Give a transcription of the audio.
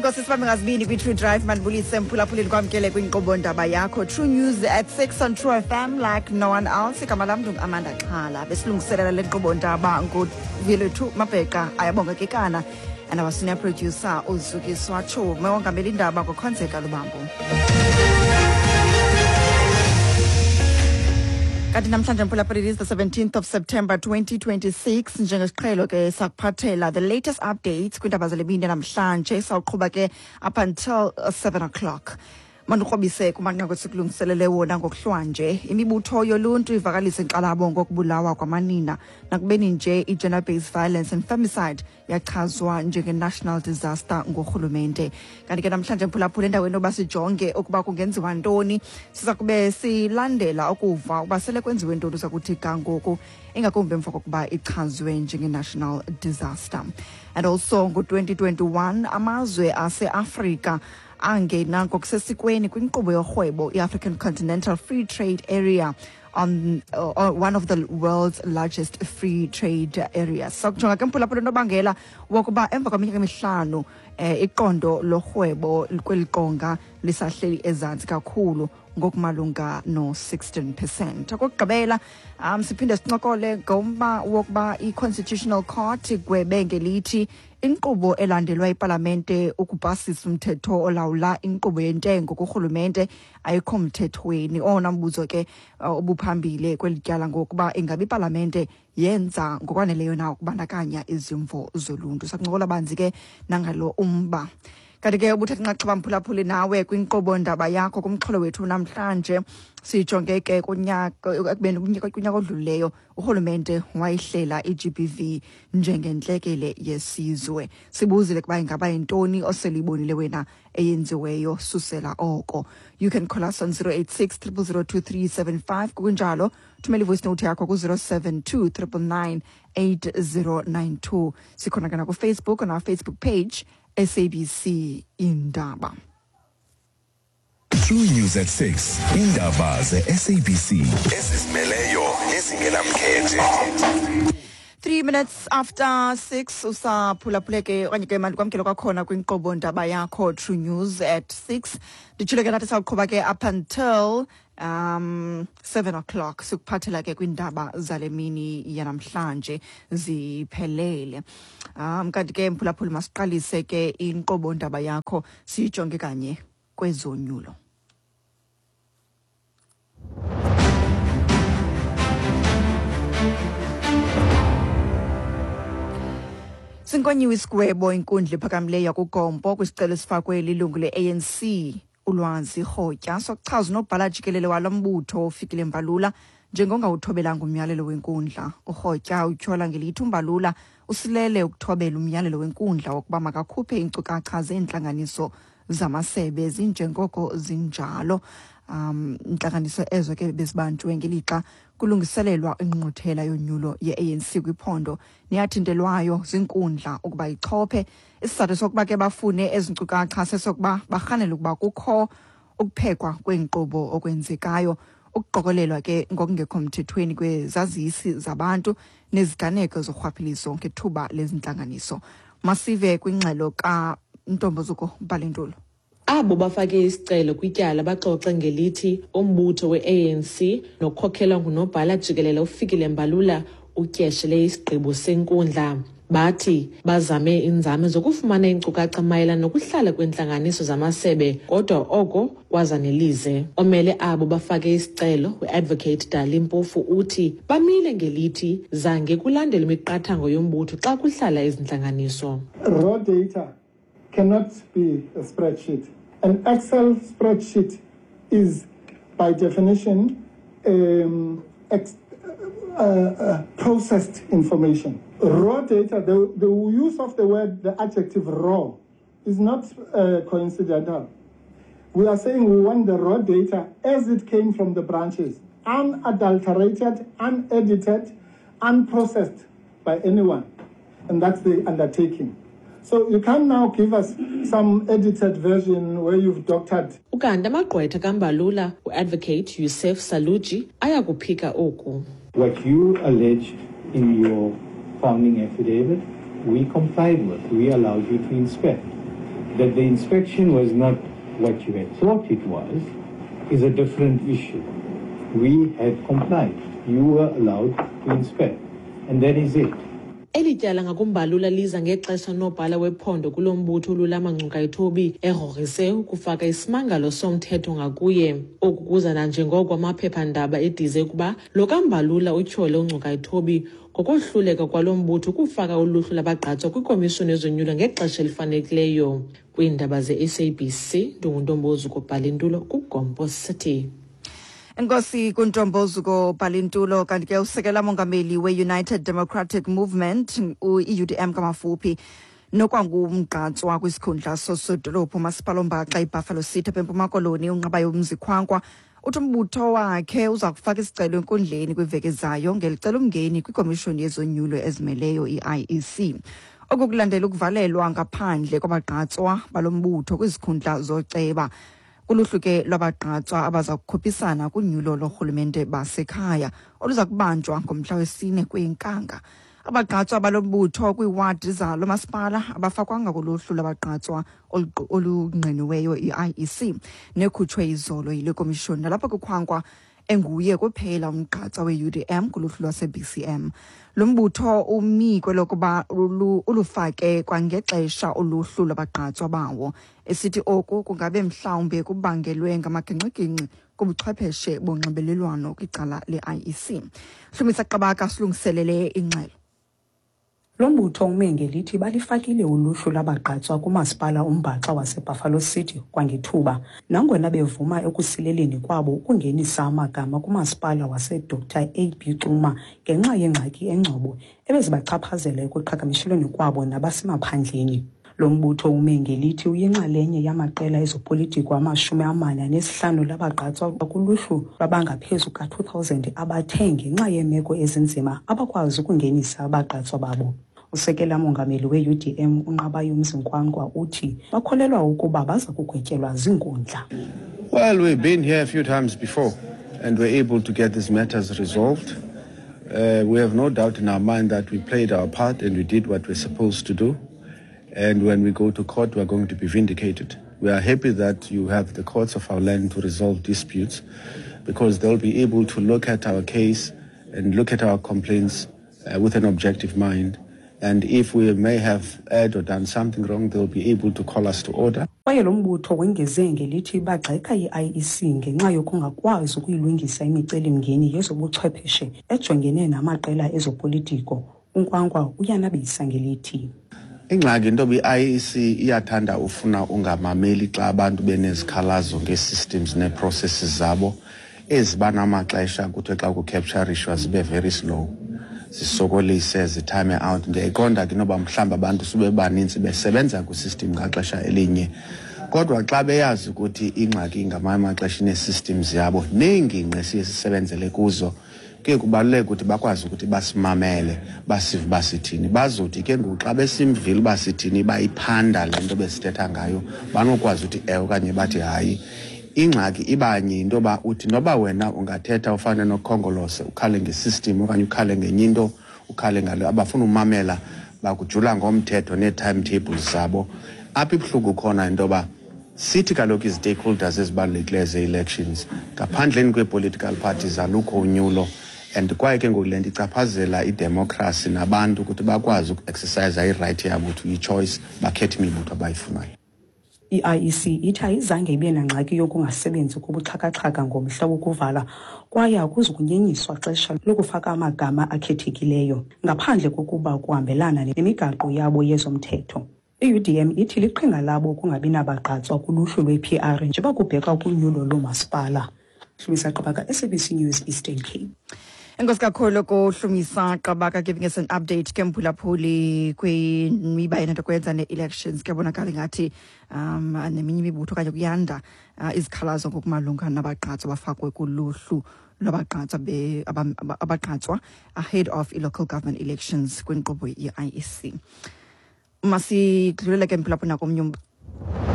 Enkosi sibambe ngazibini kwi-True Drive. Mandibulise mphulaphuli, ndikwamkele kwinkqubo ndaba yakho True News at 6 on True FM like no one else. Igama lam ndinguAmanda Xhala. Besilungiselela le nkqubo ndaba nguVilethu Mabheqa, ayabonga kekana, and our senior producer uZukiswa Tshume, wongamela indaba ngokhonzeka Lubambo. Kanti namhlanje mphulaphuli, it is the 17th of September 2026. Njengesiqhelo ke sakuphathela the latest updates kwiindaba zale mini namhlanje, sawuqhuba ke up until 7 o'clock. Mandikrobise kumanqaku esikulungiselele wona ngokuhlwanje. Imibutho yoluntu ivakalise inkxalabo ngokubulawa kwamanina nakubeni nje i-gender-based violence and femicide yachazwa njenge-national disaster ngurhulumente. Kanti ke namhlanje mphulaphula, endaweni yoba sijonge ukuba kungenziwa ntoni, siza kube silandela ukuva ukuba sele kwenziwe ntoni uza kuthi ga ngoku, ingakumbi emva kokuba ichazwe njenge-national disaster. And also ngo-2021 amazwe aseAfrika angena ngokusesikweni kwinkqubo yorhwebo i-African Continental Free Trade Area, on one of the world's largest free trade areas. Sakujonga ke mphulaphula unobangela wokuba emva kweminyaka emihlanu iqondo lorhwebo kweli qonga lisahleli ezantsi kakhulu ngokumalunga no-16%. Okokugqibela, siphinde sincokole ngomba wokuba i-Constitutional Court igwebe ngelithi inkqubo elandelwa ipalamente ukupasisa umthetho olawula inkqubo yentengo kurhulumente ayikho mthethweni. Owona mbuzo ke obuphambili kweli tyala ngokuba ingabe ipalamente yenza ngokwaneleyo na ukubandakanya izimvo zoluntu. Sakuncokola banzi ke nangalo umba. Kanti ke ubuthatha inxaxheba mphulaphuli nawe kwinkqubo ndaba yakho kumxholo wethu namhlanje, sijonge ke kunyaka ekubeni kunyaka odlulileyo urhulumente wayihlela i-GBV njengentlekele yesizwe. Sibuzile kuba ingaba yintoni oseluyibonile wena eyenziweyo susela oko. You can call us on 086 0002375, kunjalo thumela ivoice note yakho ku-072 999 8092. Sikhona ke nakuFacebook, on our Facebook page, SABC Indaba. True News at 6, indaba ze-SABC ezizimeleyo nezingenamkhethe. 3 minutes after 6, usaphulaphule ke okanye ke mandikwamkele kwakhona kwinkqubo ndaba yakho True News at 6. Nditshilo ke nathi sawuqhuba ke up until 7 o'clock, sikuphathela ke kwindaba zale mini yanamhlanje ziphelele. Kanti ke mphulaphuli, masiqalise ke inkqubo ndaba yakho siyijonge kanye kwezonyulo. Sinkonyiwe isigwebo inkundla ephakamileyo yakuGompo kwisicelo esifakwe lilungu le-ANC uLwazi Rhotya sokuchaza unobhala jikelele walo mbutho uFikile Mbalula njengongawuthobelanga umyalelo wenkundla. URhotya utyhola ngelithi uMbalula usilele ukuthobela umyalelo wenkundla wokuba makakhuphe iinkcukacha zeentlanganiso zamasebe zinjengoko zinjalo. Intlanganiso ezo ke bezibanjwe ngelixa kulungiselelwa ingqungquthela yonyulo ye-ANC kwiphondo neyathintelwayo zinkundla ukuba ichophe. Isizathu sokuba ke bafune ezi nkcukacha sesokuba barhanela ukuba kukho ukuphekwa kweenkqubo okwenzekayo, ukuqokelelwa ke ngokungekho mthethweni kwezazisi zabantu neziganeko zorhwaphilizo ngethuba lezintlanganiso. Masive kwingxelo kaNtombozuko Balentulo. Abo bafake isicelo kwityala baxoxe ngelithi umbutho we-ANC nokhokhelwa ngunobhala jikelele uFikile Mbalula utyeshele isigqibo senkundla. Bathi bazame iinzame zokufumana iinkcukacha mayelana nokuhlala kweentlanganiso zamasebe, kodwa oko kwazanelize. Omele abo bafake isicelo, uadvocate Dali Mpofu, uthi bamile ngelithi zange kulandelwe imiqathango yombutho xa kuhlala ezi ntlanganiso. Raw data cannot be a spreadsheet. An Excel spreadsheet is, by definition, processed information. Raw data, the use of the word, the adjective raw, is not coincidental. We are saying we want the raw data as it came from the branches, unadulterated, unedited, unprocessed by anyone. And that's the undertaking. So you can now give us some edited version where you've doctored. Ukanti amagqwetha kaMbalula, uadvocate Yusuf Saluji, ayakuphika oku. What you alleged in your founding affidavit, we complied with. We allowed you to inspect. That the inspection was not what you had thought it was is a different issue. We had complied. You were allowed to inspect. And that is it. Eli tyala ngakuMbalula liza ngexesha unobhala wephondo kulo mbutho uLulama Ngcukaitobi egrogrise ukufaka isimangalo somthetho ngakuye. Oku kuza nanjengoko amaphephandaba edize ukuba lo kaMbalula utyhole uNgcukaitobi ngokohluleka kwalo mbutho ukufaka uluhlu labagqatswa kwikomishoni yezonyulo ngexesha elifanelekileyo. Kwiindaba ze-SABC, ndinguNtombozuko Bhalintulo kuGompo City. Enkosi kuNtombozuko Bhalintulo. Kanti ke usekela mongameli we-United Democratic Movement, i-UDM kamafuphi, nokwangumgqatswa kwisikhundla sosodolophu umasipala ombaxa iBuffalo City apha eMpuma Koloni, uNqabayomzi Kwankwa, uthi umbutho wakhe uza kufaka isicelo enkundleni kwiveki ezayo ngelicela umngeni kwikomishoni yezonyulo ezimeleyo, i-IEC. Oku kulandela ukuvalelwa ngaphandle kwabagqatswa balo mbutho kwizikhundla zoceba kuluhlu ke lwabagqatswa abaza kukhuphisana kunyulo lorhulumente basekhaya oluza kubanjwa ngomhla wesine kweyiNkanga. Abagqatswa balo mbutho kwiiwadi zalo masipala abafakwanga kuluhlu lwabagqatswa olungqiniweyo i-IEC nekhutshwe izolo yile komishoni, nalapho kuKhwankwa enguye kuphela umgqatswa we-UDM kuluhlu lwase-BCM. Lo mbutho umi kwelokuba ulufake kwangexesha uluhlu lwabagqatswa bawo, esithi oku kungabe mhlawumbi kubangelwe ngamagingxigingxi kubuchwepheshe bonxibelelwano kwicala le-IEC. Hlumisa Qabaka silungiselele ingxelo. Lo mbutho ume ngelithi balifakile uluhlu lwabagqatswa kumasipala umbhaxa waseBuffalo City kwangethuba, nangona bevuma ekusileleni kwabo ukungenisa amagama kumasipala waseDr AB Xuma ngenxa yengxaki engcobo ebezibachaphazela ekuqhagamshelweni kwabo nabasemaphandleni. Lo mbutho ume ngelithi uyinxalenye yamaqela ezopolitiko 45 labagqatswa kuluhlu lwabangaphezu ka-2000 abathe ngenxa yeemeko ezinzima abakwazi ukungenisa abagqatswa babo. Usekela mongameli we-UDM uNqabayomzi Kwankwa uthi bakholelwa ukuba baza kugwetyelwa ziinkundla. Well, we've been here a few times before and we're able to get these matters resolved. We have no doubt in our mind that we played our part and we did what we're supposed to do. And when we go to court, we're going to be vindicated. We are happy that you have the courts of our land to resolve disputes, because they'll be able to look at our case and look at our complaints with an objective mind. And if we may have erred or done something wrong, they'll be able to call us to order. Kwaye lo mbutho wengeze ngelithi bagxeka i-IEC ngenxa yokungakwazi ukuyilungisa imicelimngeni yezobuchwepheshe ejongene namaqela ezopolitiko. UNkwankwa uyanabisa ngelithi Ingxaki into yoba i-IEC iyathanda ufuna ungamameli xa abantu benezikhalazo ngee-systems nee-processes zabo eziba namaxesha kuthiwe xa kucapturishwa zibe very slow, zisokolise, zitime out. Ndiyayiqonda ke inoba mhlawumbi abantu sube banintsi besebenza kwisystem ngaxesha elinye, kodwa xa beyazi ukuthi ingxaki ngamanye amaxesha inee-systems yabo neengingqi esiye sisebenzele kuzo, kuye kubaluleke ukuthi bakwazi ukuthi basimamele, basive uba sithini. Bazothi ke ngoku xa besimvile uba sithini, bayiphanda le nto besithetha ngayo, banokwazi ukuthi ewe okanye bathi hayi. Ingxaki ibanye yinto yoba uthi noba wena ungathetha ufane noKhongolose, ukhale ngesystem okanye ukhale ngenye into, ukhale ngalo, abafuna umamela, bakujula ngomthetho nee-timetables zabo. Apho ibuhlungu khona into yoba sithi kaloku izi-stakeholders ezibalulekileyo zee-elections, ngaphandleni kwee-political parties alukho unyulo, and kwaye ke ngoku le nto ichaphazela idemokhrasi nabantu ukuthi bakwazi ukuexercisa irayithi yabo to i-choice, bakhethe imibutho abayifunayo. I-IEC ithi ayizange ibe nangxaki yokungasebenzi kobuxhakaxhaka ngomhla wokuvala, kwaye akuzukunyenyiswa xesha lokufaka amagama akhethekileyo ngaphandle kokuba kuhambelana nemigaqo yabo yezomthetho. I-UDM ithi liqhinga labo ukungabi nabagqatswa kuluhlu lwe-PR njengoba kubhekwa kunyulo loomasipala. Hlumisa Qabaka, SABC News, Eastern Cape. Enkosi kakhulu kuHlumisa Qabaka giving us an update ke, mphulaphuli, kwimiba enento kwenza ne-elections. Kuyabonakala ingathi neminye imibutho okanye kuyanda izikhalazo ngokumalunga nabagqatswa bafakwe kuluhlu lwabagqatswa abagqatswa ahead of i-local government elections kwinkqubo ye-IEC. Masidlulele ke, mphulaphuli, nakomnye.